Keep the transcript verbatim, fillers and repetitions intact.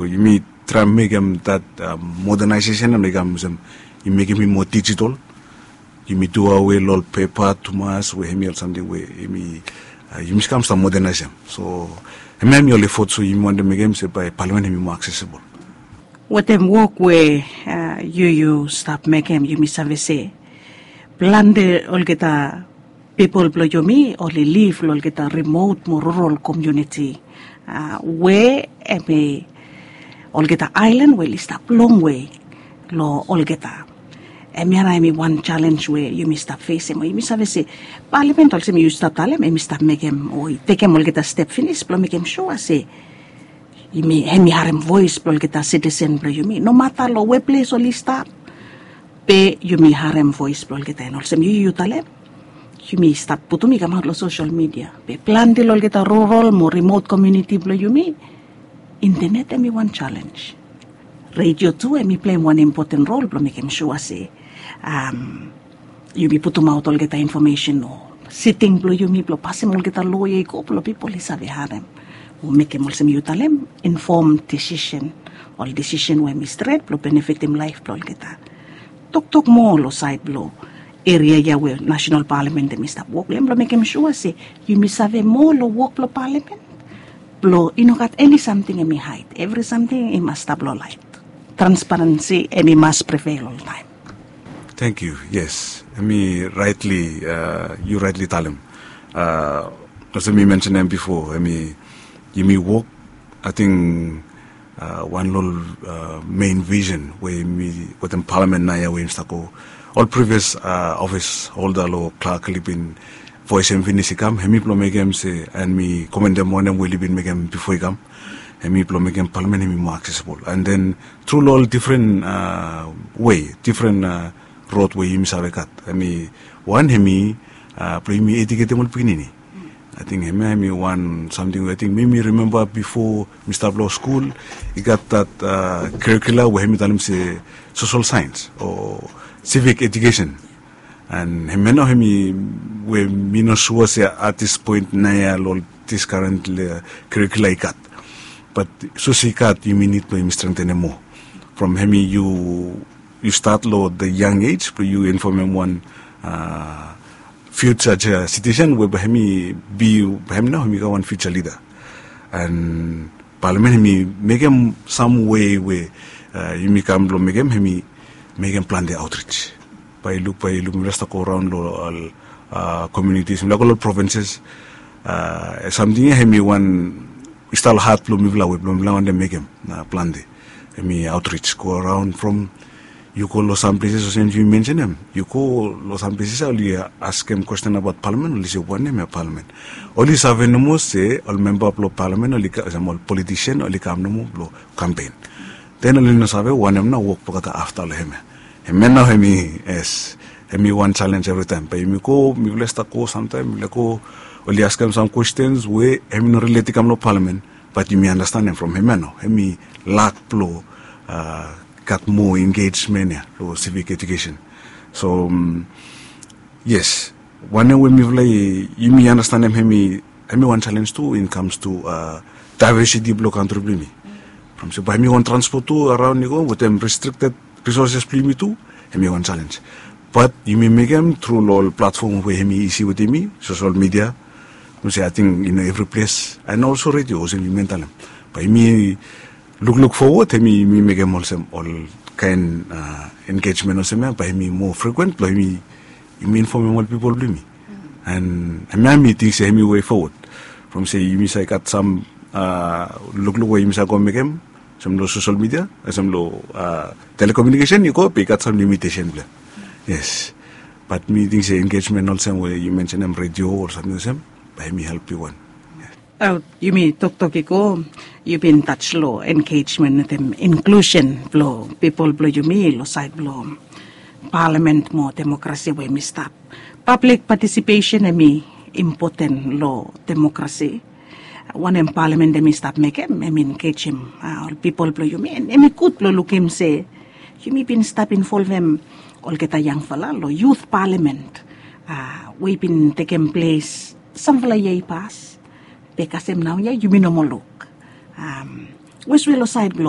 Yumi traem mekem dat modernization em i kam olsem, yumi mekem i moa digital. Yumi duawe long ol pepa tumas we hemi ol samting we yumi yumi kam stap modernaisem. So hemia hemi ol efot so yumi wantem mekem se bae palamen hemi moa aksesibol. Wetem wok we yu yu stap mekem, yumi save se plante olgeta pipol blong yumi oli liv long olgeta rimot mo rural komuniti we hemi olgeta aelan we oli stap longwe long olgeta. Hemia nao hemi wan jalenj we yumi stap fesem. Yumi save se palamen olsem yu stap talem, hemi stap mekem o i tekem olgeta step finis blong mekem sua se hemi harem voes blong olgeta sitisen blong yumi, nomata long we ples oli stap. Be yumi harem voes blong olgeta, en olsem yu yu talem, yumi stap putum i kamaot long sosel midia. Be plante long olgeta rural mo rimot komuniti blong yumi, intenet hemi wan jalenj. Redio tu hemi pleim wan impoten rol blong mekem sua se yumi putumaot olgeta infomesen o siting blong yumi blong pasem olgeta loa ya i go blong pipol i save harem o mekem olsem yu talem, infom disisen, ol disisen we hemi stret blong benefitim laef blong olgeta. Toktok moa long saed blong eria ya we nasenal palamen hemi stap wok long hem blong mekem sua se yumi save moa long wok blong palamen, blong i no gat eni samting hemi haed, evri samting i mas stap long laet. Transparensi hemi mas prevel oltaem. Tangkiu. Yes, hemi raetli, yu raetli talem. Olsem mi mensenem bifo, hemi yumi wok, ating wan long ol mein visen we yumi wetem palamen naoia we yumi stap go, ol privias ofis holda long klak oli bin voesem finis i kam, hemi blong mekem se, en mi komendem wanem we oli bin mekem bifo i kam, hemi blong mekem palamen hemi moa aksesibol. En den tru long ol difren wei, difren rod we yumi save gat, hemi wan hemi blong yumi ejuketem ol pikinini. Ating hemia hemi wan samting we ating mi mi rimemba bifo mi stap long skul, i gat dat karikula we hemi talem se sosel saens o sivik ejukesen. En hemia nao hemi we mi no sua se at dis poen naoia long dis karen karikula i gat. Bat sapos i gat, yumi nid blong yumi strengtenem moa. From hemi yu yu stat long the young age blong yu infomem wan future sitisen we bae hemi bi, bae hemi nao hemi kam wan future lida. En palamen hemi mekem sam wei we yumi kam blong mekem, hemi mekem plante aotrij. Bae yu luk, bae yu luk mifala stap go raon long ol komunitis, mifala go long ol provinses. Samting ya hemi wan i stap long hat blong mifala we blong mifala wantem mekem plante. Hemi aotrij, go raon from yu go long sam pleses olsem yu mensenem, yu go long sam pleses ya oli askem kwesten abaot palamen, oli se wanem ya palamen. Oli save nomo se ol memba blong palamen oli kam olsem ol politisen, oli kam nomo blong kampen. Den oli no save wanem nao wok blong olgeta afta long hemia. Hemia nao hemi, yes, hemi wan jalenj evritaem. Bae yumi go, mifala stap go samtaem mifala go, oli askem sam kwestens we hemi no rilet i kam long palamen. Bat yumi anastenem from hemia nao hemi lak blong gat moa engejmen ya long sivik ejukesen. So yes, wanem we mifala i, yumi anastenem hemi, hemi wan jalenj tu in kams tu daevesiti blong kantri blong yumi. From se bae hemi wan transpot tu araon i go wetem restrikted risoses blong yumi tu, hemi wan jalenj. Bat yumi mekem tru long ol platfom we hemi isi wetem yumi, sosel midia, from se ating i no evri ples, en olsem redio olsem yumi talem. Bae yumi lukluk fowod, hemi yumi mekem olsem ol kaen engejmen olsem ya bae hemi moa frikuen blong yumi, yumi infomem ol pipol blong yumi. En hemia mi ting se hemi wei fowod. From se yumi save gat sam lukluk we yumi save go mekem olsem long sosel midia, olsem long telekomunikesen i go be i gat sam limitesen blong hem. Yes. Bat mi ting se engejmen olsem we yu mensenem redio o samting olsem, bae hemi help bigwan. Yumi toktok i go, yu bin taj long engejmen wetem inklusen blong pipol blong yumi long saed blong palamen mo demokrasi we hemi stap. Pablik patisipesen hemi impoten long demokrasi. Wanem palamen hemi stap mekem, hemi engejem ol pipol blong yumi, en hemi gud blong lukim se yumi bin stap involvem olgeta yangfala long yut palamen we i bin tekem ples samfala yia i pas. Be kasem naoia yumi no moa luk. Weswe long saed blong